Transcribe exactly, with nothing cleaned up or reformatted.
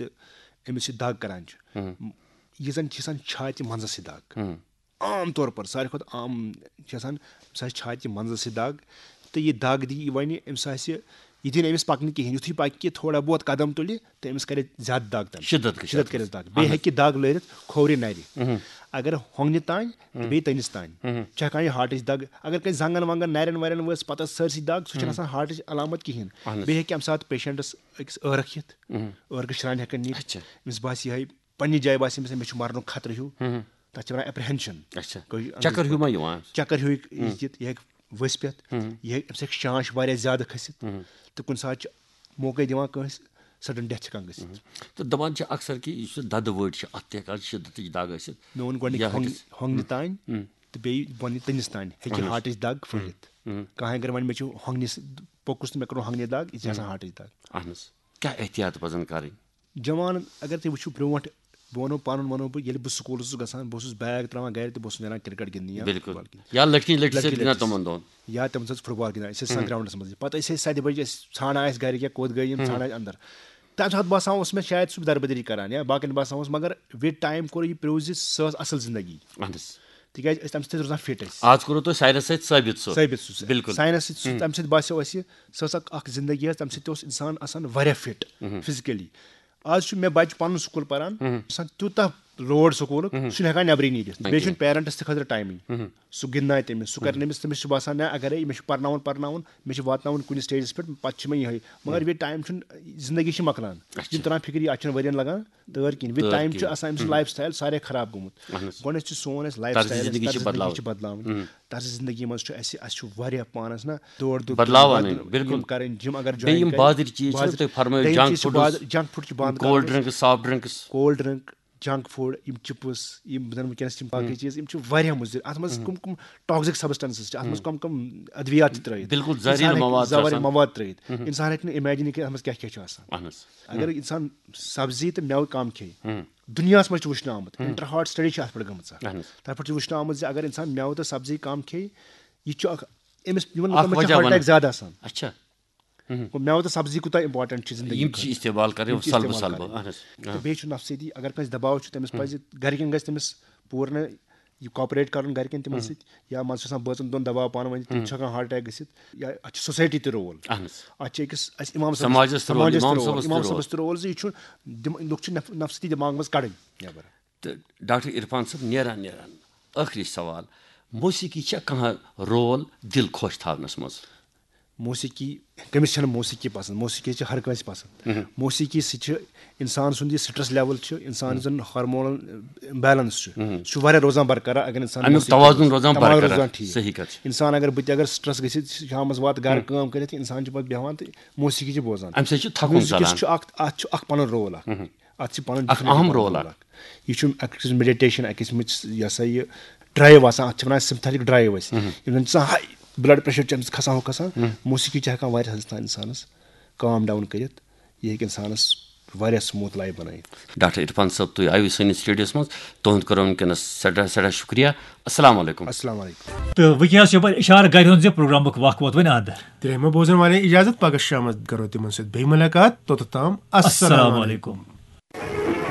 أمِس یہِ دَگ کَران چھُ، ہُم۔ یہِ زَن چھِ آسان چھاتہِ منٛزَس یہِ دَگ۔ ہُم۔ عام طور پر ساروی کھۄتہٕ عام چھِ آسان، أمِس آسہِ چھاتہِ منٛزَس یہِ دَگ، تہٕ یہِ دَگ دی یہِ وَنہِ أمِس آسہِ، یہِ دی نہٕ أمِس پَکنہٕ کِہیٖنۍ۔ یُتھُے پَکہِ تھوڑا بہت قدم تُلہِ، تہٕ أمِس کَرِ زیادٕ دَگ تَمہِ سۭتۍ۔ شِدت گژھِ شِدت اَتھ کَرٮ۪س منٛز۔ دَگ۔ بیٚیہِ ہیٚکہِ دَگ لٲرِتھ کھوورِ نَرِ۔ ہُم۔ اگر ہۄنٛگنہِ تانۍ تہٕ بیٚیہِ تٔنِس تانۍ چھِ ہٮ۪کان یہِ ہارٹٕچ دَگ، اگر کَنہِ زنٛگَن ونٛگَن نَرٮ۪ن وَرٮ۪ن وٲژ پَتہٕ سٲرسٕے دَگ، سُہ چھُنہٕ آسان ہارٹٕچ علامت کِہیٖنۍ۔ اَہَن حظ۔ بیٚیہِ ہیٚکہِ اَمہِ ساتہٕ پیشَنٹَس أکِس ٲرَکھ یِتھ، ٲرکہٕ شرٛانہِ ہٮ۪کَن نِتھ۔ اچھا۔ أمِس باسہِ یِہوٚے پنٛنہِ جایہِ باسہِ أمِس، مےٚ چھُ مَرنُک خطرٕ ہیوٗ۔ تَتھ چھِ وَنان ایپریہنشن۔ اچھا۔ گوٚو یہِ چکر ہیوٗ ما یِوان؟ چکر ہیوٗ یہِ یِتھ، یہِ ہیٚکہِ ؤسۍ پٮ۪تھ، یہِ ہیٚکہِ، أمِس ہیٚکہِ شانٛش واریاہ زیادٕ کھٔسِتھ، تہٕ کُنہِ ساتہٕ چھِ موقعے دِوان کٲنٛسہِ سڈن ڈیتھ ہٮ۪کان گٔژھِتھ۔ تہٕ دَپان چھِ اکثر کہِ یُس یہِ دَدٕ وٲٹۍ چھِ، اَتھ تہِ ہٮ۪کان شِدتٕچ دَگ ٲسِتھ۔ مےٚ ووٚن گۄڈٕنِکۍ یا ہۄنٛگنہِ، ہیٚکہِ ہۄنٛگنہِ تانۍ تہٕ بیٚیہِ بۄنہٕ تٔنِس تانۍ ہیٚکہِ ہارٹٕچ دَگ پھٔہلِتھ۔ کانٛہہ اگر وَنہِ مےٚ چھُ ہۄنٛگنِس پوٚکُس تہٕ مےٚ کوٚر ہۄنٛگنہِ دَگ، یہِ چھِ آسان ہارٹٕچ دَگ۔ اہن حظ۔ کیٛاہ احتیاط پَزَن کَرٕنۍ؟ جوان اگر تُہۍ وٕچھِو برونٛٹھ، بہٕ وَنو پَنُن وَنو بہٕ، ییٚلہِ بہٕ سکوٗل اوسُس گژھان، بہٕ اوسُس بیگ ترٛاوان گَرِ تہٕ بہٕ اوسُس نیران کرکٹ گِنٛدنہِ یا بِلکُل۔ فُٹ بال گِنٛدنہِ۔ یا لٔٹھِس لٔٹھِس سۭتۍ لٔٹھِس گِنٛدان لٔٹھِس۔ تِمَن دۄہَن۔ یا تِمن سۭتۍ فُٹ بال گِنٛدان، أسۍ ٲسۍ آسان گراوُنٛڈَس منٛز۔ پَتہٕ ٲسۍ أسۍ سَتہِ بَجہِ، أسۍ ژھانٛڈان ٲسۍ گَرِکۍ یا کوٚت گٔے یِم، ژھانٛڈان ٲسۍ اَندَر۔ تَمہِ ساتہٕ باسان اوس مےٚ شاید سُہ دربٕدٔری کَران یا باقٕیَن باسان اوس، مگر with time کوٚر یہِ prove زِ سۄ ٲس اَصٕل زِندگی۔ اہن حظ۔ تِکیٛازِ أسۍ تَمہِ سۭتۍ ٲسۍ روزان فِٹ أسۍ۔ آز کوٚرُو تۄہہِ ساینَس سۭتۍ ثٲبِت سُہ۔ ثٲبِت سُہ۔ بِلکُل۔ ساینَس سۭتۍ سُہ، تَمہِ سۭتۍ باسیٚو اَسہِ، سۄ ٲس اَکھ، اَکھ زِندگی ٲس، تَمہِ سۭتۍ تہِ اوس اِنسان آسان واریاہ فِٹ فِزِکٔلی۔ آز چھُ مےٚ بَچہٕ پَنُن سکوٗل پَران، آسان تیوٗتاہ لوڈ سکوٗلُک، سُہ چھُنہٕ ہٮ۪کان نٮ۪برٕے نیٖرِتھ۔ بیٚیہِ چھُنہٕ پیرَنٹَس تہِ خٲطرٕ ٹایمٕے۔ سُہ گِنٛدنایہِ تٔمِس، سُہ کَرِ نہٕ أمِس، تٔمِس چھُ باسان، نہ، اَگرے مےٚ چھُ پَرناوُن، پَرناوُن، مےٚ چھُ واتناوُن کُنہِ سٹیجَس پٮ۪ٹھ، پَتہٕ چھِ مےٚ یِہوٚے۔ مگر with time چھُنہٕ، زِندگی چھِ مۄکلان۔ یہِ چھُنہٕ تَران فِکرِ، اَتھ چھُنہٕ ؤرِیَن لَگان تٲر کِہیٖنۍ۔ With time چھُ آسان أمۍ سُنٛد لایف سٹایل سارے خراب گوٚمُت۔ گۄڈٕنٮ۪تھ چھُ سون اَسہِ لایف طرزِ سٹایل، زندگی چھِ زندگی بدلاوٕنۍ۔ چھِ بدلاوٕنۍ۔ طرزِ زندگی منٛز چھُ اَسہِ، اَسہِ چھُ واریاہ پانَس نہ دورٕ دورٕ بدلاوان بدل-، أنۍ، بِلکُل۔ یِم کَرٕنۍ، جِم اگر بیٚیہِ یِم join کَرِ، بازٕرۍ چیٖز چھِ، بازٕرۍ، تُہۍ فرمٲیِو، بیٚیہِ junk چیٖز چھِ foods، بازٕرۍ، junk food چھِ بنٛد کولڈ کَرٕنۍ۔ Drinks, soft drinks. Cold drink, junk food, یِم چپس، یِم زَن وٕنکیٚنَس یِم باقٕے چیٖز، یِم چھِ واریاہ مُضِر۔ اَتھ منٛز کٕم کٕم ٹاکسک سبسٹنسز چھِ، اَتھ منٛز کٕم کٕم ادویات چھِ ترٲیِتھ۔ بِلکُل، اِنسان زہریٖلہٕ ہیٚکہِ مواد چھِ زہریٖلہٕ آسان۔ مواد ترٲیِتھ۔ اِنسان ہیٚکہِ نہٕ اِمیجِن کٔرِتھ اَتھ منٛز کیٛاہ کیٛاہ چھُ آسان۔ اہن حظ۔ اگر اِنسان سبزی تہٕ مٮ۪وٕ کم کھیٚیہِ، دُنیاہَس منٛز چھُ وٕچھنہٕ آمُت، انٹر ہارٹ سٹڈی چھِ اَتھ پٮ۪ٹھ گٔمٕژ اَکھ۔ اہن حظ۔ تَتھ پٮ۪ٹھ چھُ وٕچھنہٕ آمُت زِ اگر اِنسان مٮ۪وٕ تہٕ سبزی کم کھیٚیہِ، یہِ چھُ اکھ، أمِس یِمن اکھ لُکن منٛز چھِ وجہ ہارٹ وَنہٕ۔ اٹیک زیادٕ آسان۔ اچھا۔ گوٚو مٮ۪وٕ تہٕ سبزی کوٗتاہ امپورٹنٹ چھِ زندگی یِم چھِ خٲطرٕ؟ استعمال کَرٕنۍ یِم چھِ سلبہٕ استعمال سلبہٕ۔ کَرٕنۍ۔ اہن حظ۔ تہٕ بیٚیہِ چھُ نفسیٲتی، اگر کٲنٛسہِ دباو چھُ، تٔمِس پَزِ گرِکٮ۪ن گژھِ تٔمِس پوٗرٕ یہِ کوآپریٹ کَرُن گرِکٮ۪ن تِمن سۭتۍ، یا منٛزٕ چھُ آسان بٲژَن دۄن دباو پانہٕ ؤنۍ، تِم چھِ ہٮ۪کان ہارٹ اٹیک گٔژھِتھ، یا اَتھ چھِ سوسایٹی تہِ رول۔ اہن حظ۔ اَتھ چھِ أکِس اَسہِ اِمام صٲبَس، سماجَس تہِ رول، سماجَس تہِ اِمام رول، صٲبَس تہِ اِمام رول۔ صٲبَس تہِ رول زِ یہِ چھُ دِم-، لُکھ چھِ نف-، نفسیٲتی دٮ۪ماغ منٛز کَڑٕنۍ نٮ۪بر۔ تہٕ ڈاکٹر عرفان صٲب، نیران نیران ٲخری سوال، موسیقی چھا کانٛہہ رول دِل خۄش تھاونَس منٛز؟ موسیقی، کٔمِس چھَنہٕ موسیقی پسنٛد؟ موسیقی چھِ ہر کٲنٛسہِ پسنٛد۔ موسیقی سۭتۍ چھِ اِنسان سُنٛد یہِ سٹرٛس لیول چھُ، اِنسان یُس زَن ہارمونل بیلنس چھُ، سُہ چھُ واریاہ روزان برقرار اگر اِنسان اَمیُک موسیقی توازُن پسنٛد۔ روزان توازُن برقرار۔ روزان ٹھیٖک۔ صحیح کَتھ چھِ۔ اِنسان اگر بہٕ تہِ اگر سٹرٛس گٔژھِتھ شامَس واتہٕ گرٕ کٲم کٔرِتھ، اِنسان چھُ پَتہٕ بیٚہوان تہٕ موسیقی چھِ بوزان۔ اَمہِ سۭتۍ چھُ تھکُن میوٗزِکَس ژَلان۔ چھُ اَکھ، اَتھ چھُ اَکھ پَنُن رول اَکھ۔ اَتھ چھِ پَنُن اَکھ ڈِفرَنٹ اَہَم پَنُن رول رول اَکھ۔ اَکھ۔ یہِ چھُ اَکھ قٕسم میڈیٹیشن، اَکھ قٕسمٕچ یہِ ہسا یہِ ڈرٛایو آسان، اَتھ چھِ وَنان سِمپتھیٹک ڈرٛایو أسۍ۔ یِم زَن چھِ آسان ہاے بٕلڈ پریشر چھُ اَمہِ سۭتۍ کھسان ہُہ کھسان۔ موسیقی چھِ ہٮ۪کان واریاہ حدس تام اِنسانَس کام ڈاوُن کٔرِتھ۔ یہِ ہیٚکہِ اِنسانَس واریاہ سموٗتھ لایف بَنٲیِتھ۔ ڈاکٹر عرفان صٲب، تُہۍ آیوٕ سٲنِس سٹوڈیوَس منٛز، تُہُنٛد کوٚرُم وٕنکیٚنَس سٮ۪ٹھاہ سٮ۪ٹھاہ شُکریہ۔ السلام علیکم۔ السلام علیکم۔ تہٕ وٕنکیٚنَس چھُ یَپٲرۍ اِشارٕ گَرِ ہُنٛد زِ پروگرامُک وق ووت وۄنۍ اَنٛد۔ ترٛیٚیِمہِ بوزن والٮ۪ن اجازت، پگاہ شامس کرو تِمن سۭتۍ بیٚیہِ مُلاقات، توٚتتھ تام السلام علیکم۔